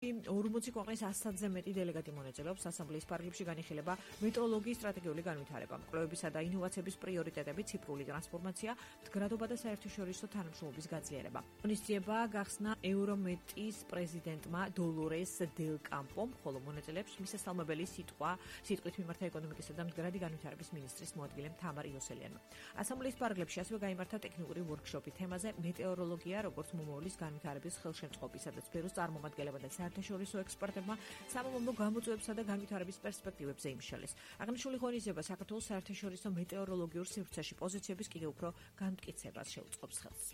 40 ქვეყნის 100-ზე მეტი დელეგატი მონაწილეობს ასამბლეის პარლამენტში განიხილება მეტროლოგიის სტრატეგიული განვითარება, კვლევებისა და ინოვაციების პრიორიტეტები, ციფრული ტრანსფორმაცია, მდგრადობა და საერთაშორისო თანამშრომლობის გაძლიერება. ღონისძიება გახსნა ევრომეტის პრეზიდენტმა დოლორეს დელ კამპომ, ხოლო მონაწილეებს მისასალმებელი სიტყვით მიმართა ეკონომიკისა და მდგრადი განვითარების მინისტრის მოადგილემ თამარ იოსელიანმა. ასამბლეის პარლამენტში ასევე გაიმართა ტექნიკური ვორქშოპი თემაზე მეტეოროლოგია, როგორც მომავლის განვითარების ხელშემწყობი, სადაც ბეროს წარმომადგენლებმა და საერთაშორისო ექსპერტებმა სამომავლო გამოწვევებსა და განვითარების პერსპექტივებზე იმშალეს. აღნიშნული ღონისძიება საქართველოს საერთაშორისო მეტეოროლოგიურ სივრცეში პოზიციების კიდევ უფრო განმტკიცებას შეუწყობს ხელს.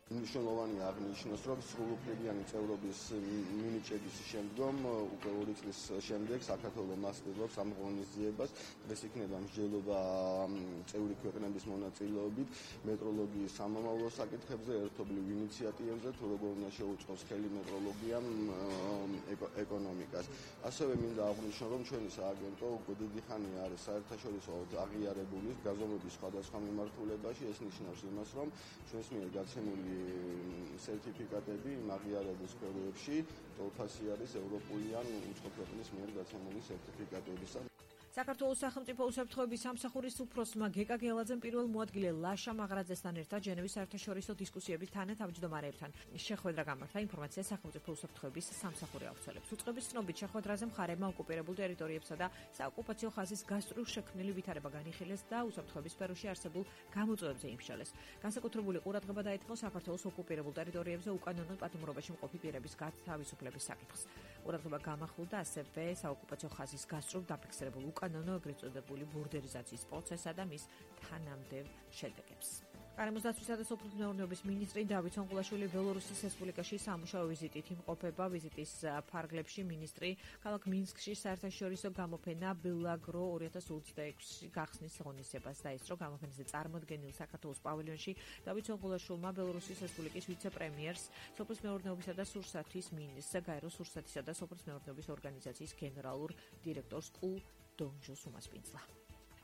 მნიშვნელოვანი აღნიშნოს, რომ სრულუფლებიანი წევრობის მინიჭების შემდგომ უკვე 2 წლის შემდეგ საქართველოს მასპინძლობს ამ ღონისძიებას. ეს იქნება მსჯელობა წევრი ქვეყნების მონაწილეობით მეტროლოგიის სამომავლო საკითხებზე, ერთობლივ ინიციატივებზე, თუ როგორ უნდა შეუწყოს ხელი მეტროლოგიამ ეკონომიკას. ასევე მინდა აღვნიშნო, რომ ჩვენი სააგენტო უკვე დიდი ხანია არის საერთაშორისო აღიარებული გაზომვების სხვადასხვა მიმართულებაში. ეს ნიშნავს იმას, რომ ჩვენს მიერ გაცემული სერტიფიკატები აღიარების სფეროებში ტოლფასი არის ევროპული ან უცხო ქვეყნის მიერ გაცემული სერტიფიკატებისა. საქართველოს სახელმწიფო უსაფრთხოების სამსახურის უფროსმა გეკა გელაძემ პირველ მოადგილე ლაშა მაღრაძესთან ერთად ჟენევის საერთაშორისო დისკუსიების თანათავმჯდომარეებთან შეხვედრა გამართა. ინფორმაცია სახელმწიფო უსაფრთხოების სამსახური აუცილებს. უწყების ცნობით შეხვედრაზე მხარეებმა ოკუპირებულ ტერიტორიებსა და საოკუპაციო ხაზის გასწვრივ შექმნილი ვითარება განიხილეს და უსაფრთხოების სფეროში არსებულ გამოწვევებზე იმშალეს. განსაკუთრებული ყურადღება დაეთმო საქართველოს ოკუპირებულ ტერიტორიებზე უკანონო პატიმრობაში მყოფი პირების გათავისუფლების საკითხს. ყურადღება გამახვილდა ასევე საოკუპაციო ხაზის გასწვრივ დაფიქსირებულ უკანონო ეგრეთ წოდებული ბურდერიზაციის პროცესსა და მის თანამდებობ შედეგებს. გარემოს დაცვისა და სოფლის მეურნეობის მინისტრი დავით სონყულაშვილი ბელორუსის რესპუბლიკაში სამუშაო ვიზიტით იმყოფება. ვიზიტის ფარგლებში მინისტრი ქალაქ მინსკში საერთაშორისო გამოფენა ბელაგრო 2026 გახსნის ღონისძიებას დაესწრო. გამოფენაზე წარმოდგენილ საქართველოს პავილიონში დავით სონყულაშვილმა ბელორუსის რესპუბლიკის ვიცე-პრემიერს, სოფლის მეურნეობისა და სურსათის მინისტრს, გაეროს სურსათისა და სოფლის მეურნეობის ორგანიზაციის გენერალურ დირექტორს დონჯოს უმასპინძლა.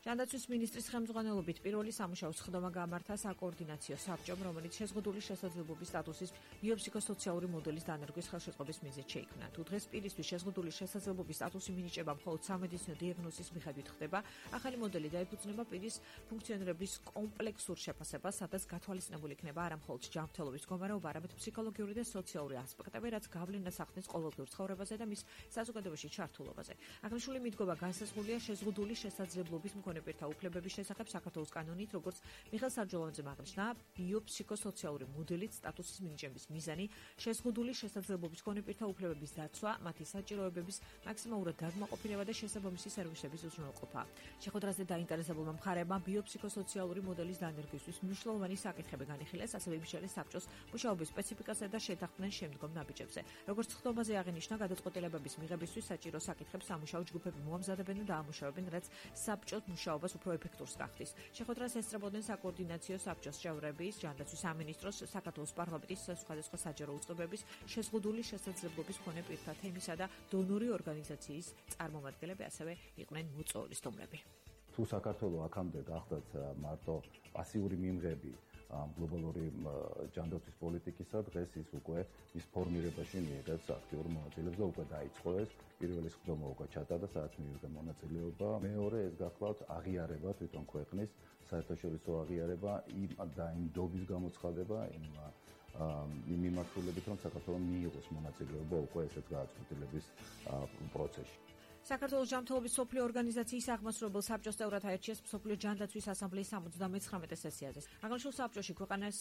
ჯანდაცვის მინისტრის ხელმძღვანელობით პირველი სამუშაო სხდომა გამართა საკოორდინაციო საბჭომ, რომელიც შეზღუდული შესაძლებლობის სტატუსის ბიოფსიქოსოციალური მოდელის დანერგვის ხელშეწყობის მიზნით შეიქმნა. თუ დღეს პირისთვის შეზღუდული შესაძლებლობის სტატუსი მინიჭება მხოლოდ სამედიცინო დიაგნოზის მიხედვით ხდება, ახალი მოდელი დაეფუძნება პირის ფუნქციონირების კომპლექსურ შეფასებას, სადაც გათვალისწინებული იქნება არა მხოლოდ ჯანმრთელობის მდგომარეობა, არამედ ფსიქოლოგიური და სოციალური ასპექტები, რაც გავლენას ახდენს ყოველდღიურ ცხოვრებაზე და მის საზოგადოებაში ჩართულობაზე. აღნიშნული მიდგომა განსაზღვრულია შეზღუდული შესაძლებლობის პირთა უფლებების შესახებ საქართველოს კანონით, როგორც მიხეილ საჯოლოვანძემ აღნიშნა, ბიოფსიქოსოციალური მოდელით სტატუსის მინიჭების მიზანი შეზღუდული შესაძლებლობის მქონე პირთა უფლებების დაცვა, მათი საჭიროებების მაქსიმალურად დაკმაყოფილება და შესაბამისი სერვისების უზრუნველყოფა. შეხვედრაზე დაინტერესებულმა მხარეებმა ბიოფსიქოსოციალური მოდელის დანერგვის მნიშვნელოვანი საკითხები განიხილეს, ასევე იმშალეს საბჭოს მუშაობის სპეციფიკასა და შეთანხმდნენ შემდგომ ნაბიჯებზე. როგორც სხდომაზე აღინიშნა, გადაწყვეტილებების მიღებისთვის საჭირო საკითხებს სამუშაო ჯგუფები მოამზადებენ და დაამუშავებენ, რაც საბჭოს მუშაობას უფრო ეფექტურს გახდის. შეხვედრას ესწრებოდნენ საკოორდინაციო საბჭოს წევრების, ჯანდაცვის სამინისტროს, საქართველოს პარლამენტის სხვადასხვა საჯარო უწყებების, შეზღუდული შესაძლებლობის მქონე პირთა თემისა და დონორი ორგანიზაციის წარმომადგენლები, ასევე იყვნენ მოწვეული სტუმრები. თუ საქართველოს აქამდე გახდათ მარტო პასიური მიმღები გლობალური ჯანდაცვის პოლიტიკისა, დღეს ის უკვე ის ფორმირებაში მიიღებს აქტიურ მონაწილეობას და უკვე დაიწყო ეს პირველი სხდომა უკვე ჩატარდა, სადაც მიიღო მონაწილეობა. მეორე ეს გახლავთ აღიარება თვითონ ქვეყნის საერთაშორისო აღიარება იმ დობის გამოცხადება იმ მიმართულებით, რომ საქართველოს მიიღოს მონაწილეობა უკვე ესეც გადაწყვეტილების პროცესში. საქართველოს ჯანმრთელობის სოფლიო ორგანიზაციის აღმასრულებელ საბჭოს წევრად აირჩიეს მსოფლიო ჯანდაცვის ასამბლეის 79 სესიაზე. აღნიშნულ საბჭოში ქვეყანას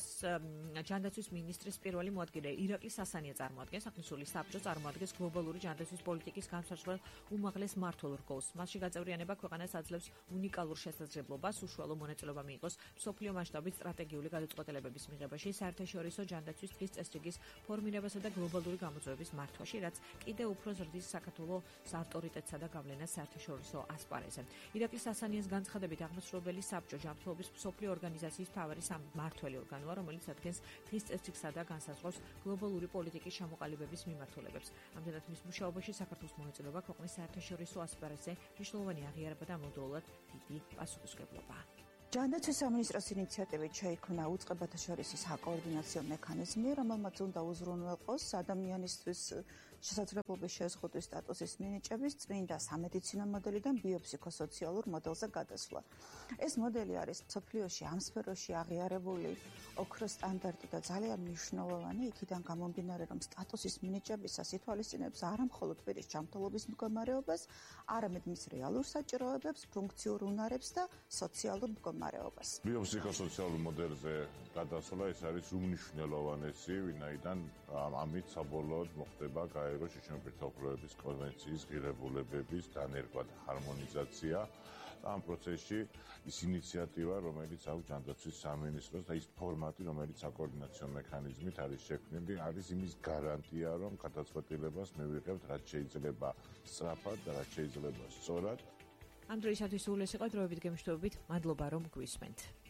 ჯანდაცვის მინისტრის პირველი მოადგილე ირაკლი სასანია წარმოადგენს. აღნიშნული საბჭო წარმოადგენს გლობალური ჯანდაცვის პოლიტიკის განსაზღვრელ უმაღლეს მმართველ რგოლს. მასში გაწევრიანება ქვეყანას აძლევს უნიკალურ შესაძლებლობას უშუალო მონაწილეობა მიიღოს მსოფლიო მასშტაბით სტრატეგიული გადაწყვეტილებების მიღებაში, საერთაშორისო ჯანდაცვის დღის წესრიგის ფორმირებასა და გლობალური გამოწვევების მართვაში, რაც კიდევ უფრო ზრდის საქართველოს ავტორიტეტს და გავლენას საერთაშორისო ასპარეზზე. ირაკლი სასანიას განცხადებით აღმასრულებელი საბჭო ჯანმრთელობის მსოფლიო ორგანიზაციის მთავარი მმართველი ორგანოა, რომელიც ადგენს დღის წესრიგსა და განსაზღვრავს გლობალური პოლიტიკის ჩამოყალიბების მიმართულებებს. ამდენად მის მუშაობაში საქართველოს მონაწილეობა ქვეყნის საერთაშორისო ასპარეზზე მნიშვნელოვანი აღიარება და ამავდროულად დიდი პასუხისმგებლობა. ჯანდაცვის სამინისტროს ინიციატივით შეიქმნა უწყებათა შორის საკოორდინაციო მექანიზმი, რომელმაც უნდა უზრუნველყოს ადამიანისთვის შესაძლებლობის შეზღუდვის სტატუსის მინიჭების წმინდა სამედიცინო მოდელიდან ბიოფსიქოსოციალურ მოდელზე გადასვლა. ეს მოდელი არის მსოფლიოში ამ სფეროში აღიარებული ოქროს სტანდარტი და ძალიან მნიშვნელოვანი, იქიდან გამომდინარე, რომ სტატუსის მინიჭებისას ითვალისწინებს არა მხოლოდ პირის ჯანმრთელობის მდგომარეობას, არამედ მის რეალურ საჭიროებებს, ფუნქციურ უნარებს და სოციალურ მდგომარეობას. ბიოფსიქოსოციალურ მოდელზე გადასვლა ეს არის უმნიშვნელოვანესი, ვინაიდან ამით საბოლოოდ მოხდება გაეროს შრომითი უფლებების კონვენციის ღირებულებების დანერგვა და ჰარმონიზაცია. ამ პროცესში ის ინიციატივა, რომელიც აქვს ჯანდაცვის სამინისტროს და ის ფორმატი, რომელიც საკოორდინაციო მექანიზმით არის შექმნილი, არის იმის გარანტია, რომ გადაწყვეტილებას მივიღებთ, რაც შეიძლება სწრაფად და რაც შეიძლება სწორად. ამ დროისათვის სულ ეს იყო დროებით გემშვიდობით. მადლობა რომ გვისმენთ.